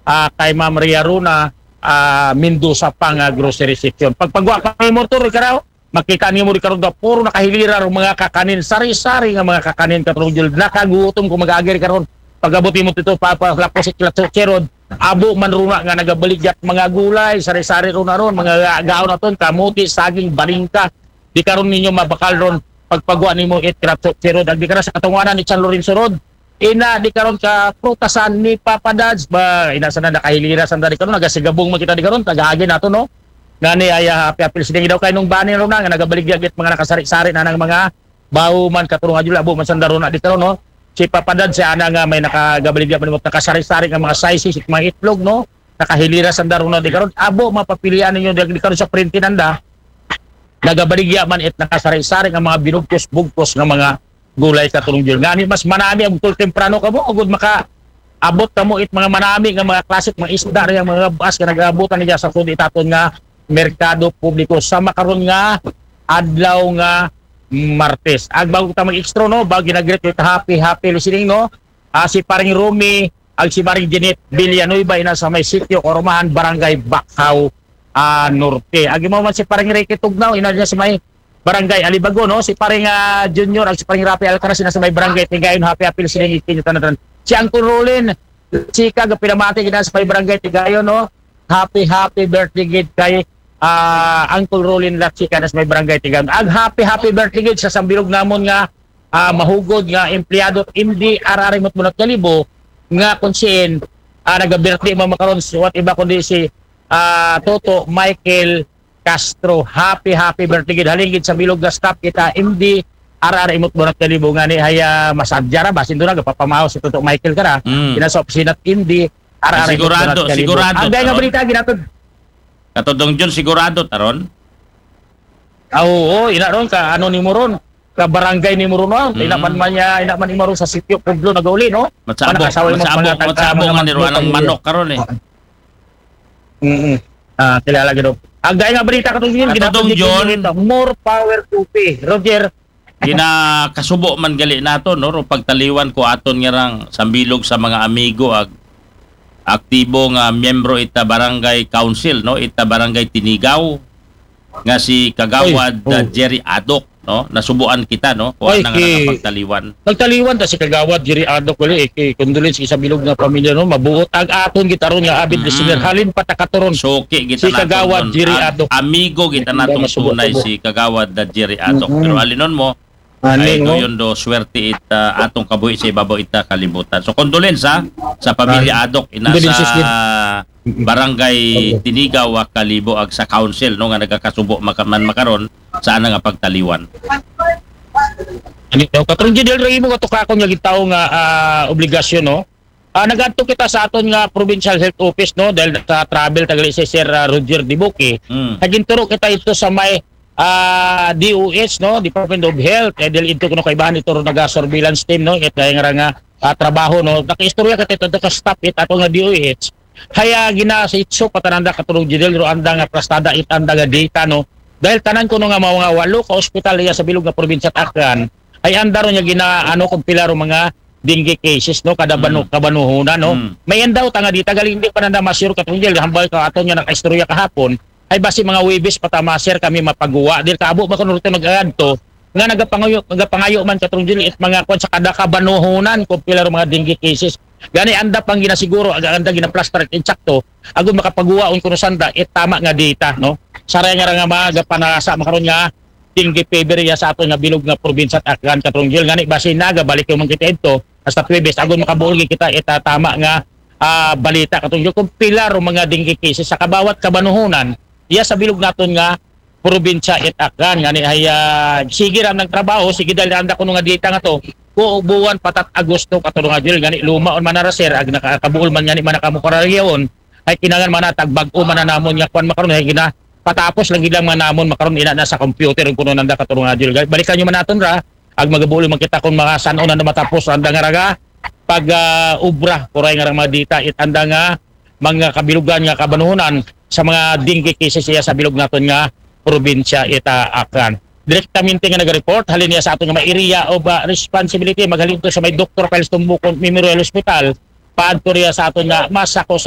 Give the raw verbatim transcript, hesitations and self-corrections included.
ah, kay Ma'am Ria Runa, ah, Mendoza pa nga grocery section. Pagpagwa pa nimo, Tor, ikaw, makita nimo di karon daw puro nakahilira ang mga kakanin, sari-sari nga mga kakanin, Katrong Jul. Nakagutom ko mag-agi ri karon. Pag-abot nimo dito, pa, pa, lapos si Klatso Cherod, abo man runa nga nagabaligyat mga gulay, sari-sari runa ron, mga gaon naton, kamuti, saging, balingka. Di karon ninyo mabakal ron pagpagwa nimo it Klatso Cherod. Ag di ka na sa katunganan ni San Lorenzo Road. Ina di karon ka prutasan ni Papa Dads ba? Ina sana nakahilira sanda di karon, nagasigabong man kita di karon, tagaagin nato, no? Ngani ay, ah, happy apil sila daw kay nung bani ron na nga nagabaligya git mga nakasari-sari na ng mga bawo man, Katrong Jul, abo man sanda ron na di karon, no? Si Papa Dads, si ana nga may nakagabaligya man mo nakasari-sari nga mga sizes, mga itlog, no? Nakahilira sanda ron na di karon. Abo, mapapilian ninyo di, di karon sa printe nanda. Nagabaligya man it nakasari-sari nga mga binugkos-bugkos nga mga gulay, Katrong Jul. Ngani mas manami ang tul temprano kamo, agud maka abot kamo it mga manami nga mga klasik, mga isda rin, mga bas nga nag-abutan niya sa sud itaton nga merkado publiko sa makaron nga adlaw nga Martes. Ag bago ta mag-extra, no, bago ginagreet it happy, happy listening, no? Ah, si Paring Romy, ag si Paring Jeanette Villanueva, ina sa may sitio Karumahan, Barangay Bacau, ah, Norte. Ag imo man si Paring Ricky Tugnaw, ina niya sa may Barangay Alibago, no? Si Paring, ah, Junior, ag si Paring Rafi Alcaraz, ina sa may Barangay Tigayon, happy apil sila ikinyo tanan. Si Uncle Rolin, si Kag, pinamati, ina sa may Barangay Tigayon, no? Happy, happy birthday gid kay, ah, Uncle Rolin Latsika na sa may Barangay Tigayon. Ag happy, happy birthday gid sa sambilog namon nga, ah, mahugod nga empleyado M D R R imot munat kalibo nga kung siin, ah, naga-birthday mo makaron, what iba kundi si, ah, Toto Michael Castro. Happy, happy birthday gid. Halin gid sa bilog nga staff kita M D R R imot munat kalibo nga ni haya masadya ra ba? Sindo na, gapapamahaw si Toto Michael ka na. Mm. Ina sa opisina M D R R imot Sigurado, munat kalibo. sigurado, Ang gaya nga Taron. Balita, ginatod. Katudong Jun, sigurado, Taron? Ah, oo, ina ron, ka ano ni mo ron? Ka barangay ni mo ron, no? Mm. Ina man man niya, ina man ni mo ron sa sitio, Pablo, nagauli, no? Matsabo, Manakasawa mo, matsabo, mga tagka, matsabo mga nga ni mga ang pamilya. Manok karon eh. Mm. Ah, kilala gid. Ang gaya nga Balita, katong yun, Katong ginatod John. Dito, more power to P. Roger. Ginakasubo man gali nato, no? Ro pagtaliwan ko aton nga rang sambilog sa mga amigo ag aktibo nga miyembro ita barangay council, no? Ita barangay Tinigaw nga si Kagawad Oy, oh. uh, Jerry Adok, no? Nasubuan kita, no? Kuha Oy, na nga ki- nakapagtaliwan. Nagtaliwan ta si Kagawad Jerry Adok, wali, eh, kay condolence sa bilog nga pamilya, no? Mabuot ang aton gitaron nga avid Mm. listener. Halin pa ta katuron. Soki kita Si naton Kagawad ron. Jerry Am- Adok. Amigo kita Hindi natong masubo-subo. tunay si Kagawad uh, Jerry Adok. Mm-mm. Pero alinon mo, Ani, ay no? Doyon do swerte it uh, atong kabuhi sa ibabaw ita kalibutan. So condolence ha, sa pamilya Ah, Adok, ina condolences sa din. barangay Okay. Tinigaw, ah, Kalibo ag sa council, no, nga nagakasubo maka- man makaron sa ana nga pagtaliwan. Ani daw, Katrong Jidel, ray mo katukakon nga gitaw nga ah, obligasyon, no? Ah, nagadto kita sa aton nga provincial health office, no, dahil sa travel tagali si Sir ah, Roger Dibuki. Mm. Naginturo kita ito sa may ah, D O H, no, Department of Health. Eh, dahil ito kuno kaibahan ito ro naga surveillance team, no, it kaya nga nga ah, trabaho, no. Nakaistorya kita ito ka staff it ato nga D O H. Haya gina sa itso patananda, Katrong Jidel, ro anda nga plastada it anda nga data, no. Dahil tanan kuno nga mga walo ka ospital iya sa bilog nga probinsya at Aklan, ay anda ro niya gina ano kung pila ro mga dengue cases, no, kada banu, Mm. kabanuhunan, no. Mm. May endaw ta nga di tagal hindi pa nanda ma-sure, Katrong Jidel, hambal ka aton nga nakaistorya kahapon, ay basi mga Webes pa ta ma-sure kami mapaguwa. Dil kaabo ba kuno rito nag-aadto nga nagapangayo, nagapangayo man, Katrong Jidel, it mga kwan sa kada kabanuhunan kung pila ro mga dengue cases. Gani anda pang ginasiguro, aga anda ginaplastar it insakto, agon makapaguwa on kuno sanda it tama nga data, no. Saray nga ra nga mga gapanasa makaron nga dengue fever iya sa aton nga bilog nga probinsya at Aklan, Katrong Jidel. Ngani basi nagabalik yung mga kita ito hasta Tuwebes, agon makabuol gid kita ita tama nga ah, balita, Katrong Jidel, kung pila ro mga dengue cases sa kabawat kabanuhunan iya sa bilog naton nga probinsya it Aklan. Ngani ay ah, sige ra nagtrabaho, sige dahil anda kuno nga data nga to, kuubuan patat Agosto, Katrong Jidel, ngani luma on manara, sir, ag nakakabuol man ngani man nakamukarayaon, ay kinangan man natag bag-o man na namon nga kwan makaron, ay gina patapos lang gid lang man namon makaron, ina na sa computer kuno nanda, Katrong Jidel. Balikan nyo man naton ra, ag magabuol man kita kung mga san-o na matapos anda nga raga pag ah, obra, kuray nga ra mga data it anda nga mga kabilugan nga kabanuhunan sa mga dengue cases iya sa bilog naton nga probinsya ita Aklan. Direktamente nga naga-report halin niya sa aton nga may area of ah, responsibility, maghalin to sa may Doktor Piles Tumbuko Memorial Hospital, paadto riya sa aton nga Masako